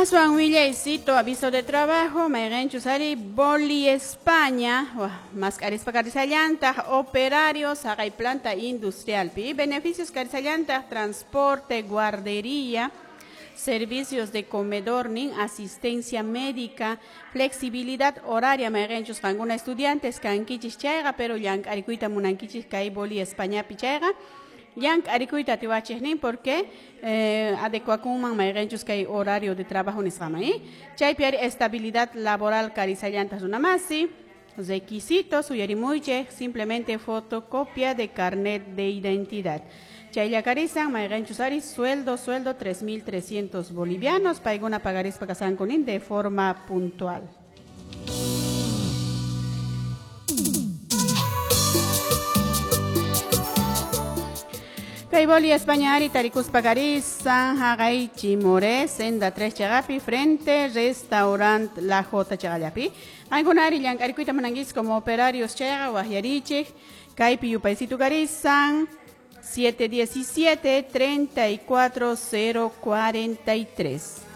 Aswan willaycito, aviso de trabajo, mayqinchus ari Boli España, mask'arispa karisallantaq operarios haqay planta industrialpi, beneficios karisallantaq transporte, guardería, servicios de comedor nin asistencia médica, flexibilidad horaria mayqinchus qankuna estudiantes kankichis chayqa, pero llank'arikuyta munankichis kay Boli Españapi chayqa, llank'arikuyta atiwachis nin porque adecuakunman mayqinchus kay horario de trabajo nisqaman, chaypi ari estabilidad laboral karisallantaq runamasi. Requisitos uyarimuychik simplemente fotocopia de carnet de identidad. Chaylla karisan mayqinchus ari sueldo 3.300 bolivianos paykuna pagarispa kasanku nin de forma puntual. Kay Boli España ari tarikuspa karisan haqay Chimoré senda 3 chaqapi frente restaurant La J chaqallapi. Qankuna ari llank'arikuyta munankichis como operarios chayqa waqyarichik kaypi yupaysitu karisan 717 34 0 43.